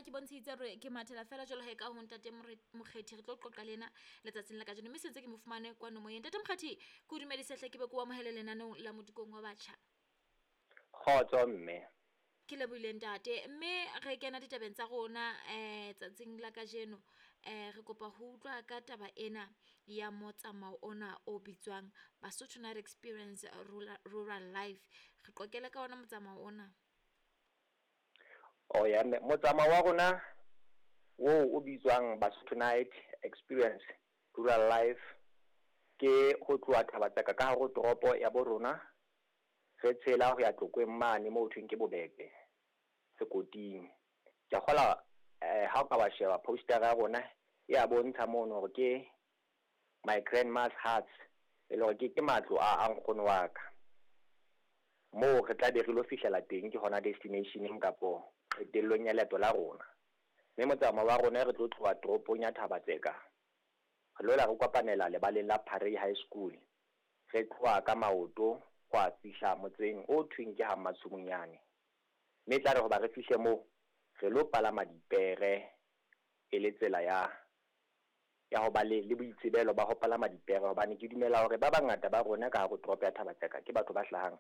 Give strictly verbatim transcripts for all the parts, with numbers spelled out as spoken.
ka ke bontshitse hore ke mathela fela jwalo he ka ho ntate Mokgethi re tlo qoqa le ena letsatsing la kajeno, mme sentse ke mo fumane kwano moyeng. Ntate Mokgethi, ke o dumedise hle, ke be ke o amohele lenaneong la Modikong wa Batjha. Kgotso mme. Ke lebohile ntate. Mme re kena ditabeng tsa rona um tsatsing la kajeno, um re kopa ho utlwa ka taba ena ya motsamao ona o bitswang Basotho Night Experience Rural, Rural Life. Re qoqele ka ona motsamao ona. Oh ya mme, motsamao wa rona oo o bitswang Basotho Night Experience Rural Life ke ho tloha Thaba-Tseka ka hare ho toropo ya bo rona, re tshela ho ya Tlokweng mane moo ho thweng ke Bobebe sekoting. Ke a kgolwa eh ha o ka wa sheba poster ya rona e a bontsha mono hore ke my grandma's huts, e le hore ke ke matlo a a nkgono wa ka. Moo re tla be re lo fihlela teng ke hona destination-eng kapo qetellong ya leeto la rona. Mme motsamao wa rona re tlo tloha toropong ya Thaba-Tseka, re lo la re kopanela lebaleng la Parey High School. Re tloha ka maoto ho a fihla motseng o thweng ke ha Mmatshumunyane. Mme e tla re hoba re fihle moo, re lo palama dipere e le tsela ya ya ho ba le le boitsebelo ba ho palama dipere, hobane ke dumela hore ba bangata ba rona ka hare ho toropo ya Thaba-Tseka ke batho ba hlahang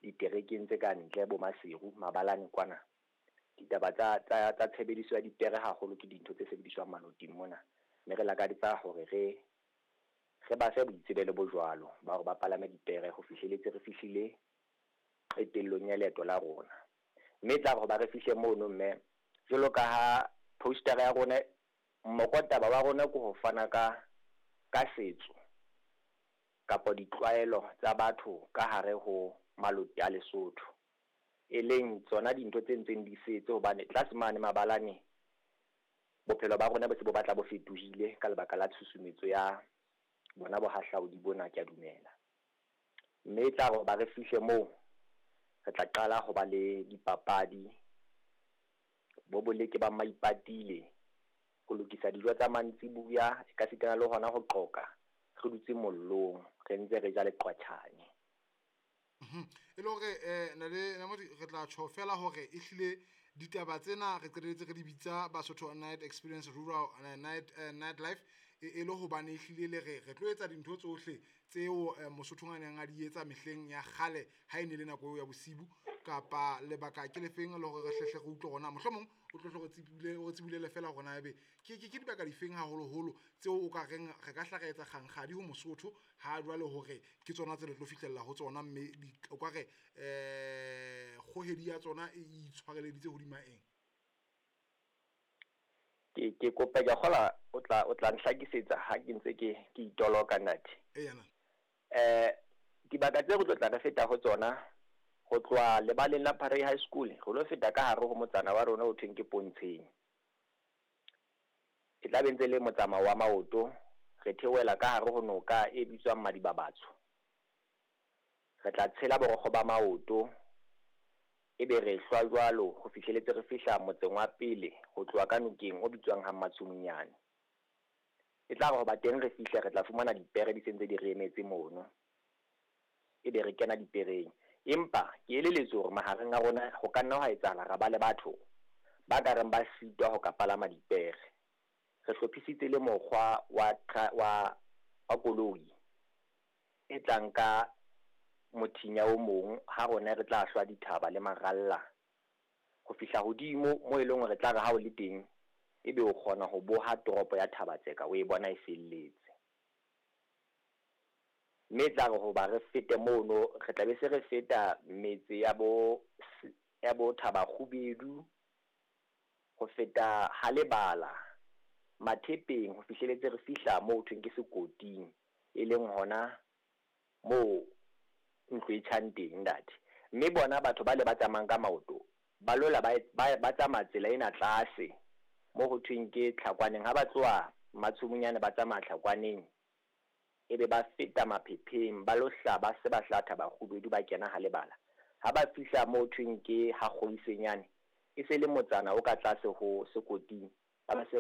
diterekeng tse ka ntle bo Maseru, Mabalane kwana. Ditaba tsa tsa tsa tshebediso ya dipere haholo ke dintho tse sebediswang maloting mona. Mme re lakaditsa hore re re ba fe boitsebelo bo jwalo ba hore ba palame dipere ho fihleletse re fihlile qetellong ya leeto la rona. Mme e tla re hoba re fihle mono mme, jwalo ka ha poster ya rona, mokotaba wa rona ke ho fana ka ka setso kapa ditlwaelo tsa batho ka hare ho maloti a Lesotho, e leng tsona dintho tse ntseng di setse hobane tlase mane mabalane bophelo ba rona bo se bo batla bo fetohile ka lebaka la tshusumetso ya bona bohahlaudi bona, ke a dumela. Mme e tla re hoba re fihle moo, re tla qala ho ba le dipapadi, bo boleke ba maipatile, ho lokisa dijo tsa mantsibuya, ekasitana le hona ho qoqa re dutse mollong, re ntse re ja leqwatjhane. E le hore eh nale Namodi re tla tjho fela hore ehlile ditaba tsena re qetelletse re di bitsa Basotho Night Experience Rural uh, Night uh, Night Life e, e le hobane ehlile le re re tlo etsa dintho tsohle tseo eh, Mosotho a neng a di etsa mehleng ya kgale ha e ne le nako eo ya bosibu, kapa lebaka ke lefeng le hore re hlehle re utlwe hore na mohlomong o tlo hle re tsebile o tsebulele fela hore na ebe ke ke ke dibaka difeng haholoholo tseo o ka reng re ka hla re etsa kgankgadi ho Mosotho ha jwale hore ke tsona tse le tlo fihlella ho tsona, mme o ka re eh kgohedi ya tsona e itshwareleditse hodima eng? Ke ke kopa ke a kgola o tla o tla nhlakisetsa ha ke ntse ke ke itoloka ntate. Eya na. Eh dibaka tse re tlo tla re feta ho tsona ho tloha lebaleng la Parey High School, re lo feta ka hare ho motsana wa rona o thweng ke Pontsheng. E tla be ntse le motsamao wa maoto, re theohela ka hare ho noka e bitswang Madibabatso. Re tla tshela borokgo ba maoto, ebe re hlwa jwalo ho fihleletse re fihla motseng wa pele ho tloha ka nokeng o bitswang ha Mmatshumunyane. E tla re hoba teng re fihle re tla fumana dipere di sentse di re emetse mono, ebe re kena dipereng. Empa ke eleletswe hore mahareng a rona ho ka nna hwa etsahala ra ba le batho ba ka reng ba sitwa ho ka palama dipere. Re hlophisitse le mokgwa wa wa wa koloi e tlang ka mothinya o mong ha rona re tla hlwa dithaba le maralla ho fihla hodimo moo e leng hore tla re ha o le teng ebe o kgona ho boha toropo ya Thaba-Tseka o e bona e felletse. Mme tla re hoba re fete mono, re tla be se re feta metse ya bo ya bo Thabakgubedu, ho feta Halebala, Mathepeng, ho fihleletse re fihla moo thweng ke Sekoting, e leng hona moo ntlo e tjhang teng ntate. Mme bona batho ba le ba tsamayang ka maoto ba lola ba ba ba tsamaya tsela ena tlase moo ho thweng ke Tlhakwaneng. Ha ba tloha Mmatshumunyane ba tsamaya Tlhakwaneng, ebe ba feta Maphepheng, ba lo hla ba se ba hla Thabakgubedu ba kena Halebala. Ha ba fihla moo thweng ke ha Kgoisenyane, e se le motsana o ka tlase ho Sekoting, ba ba se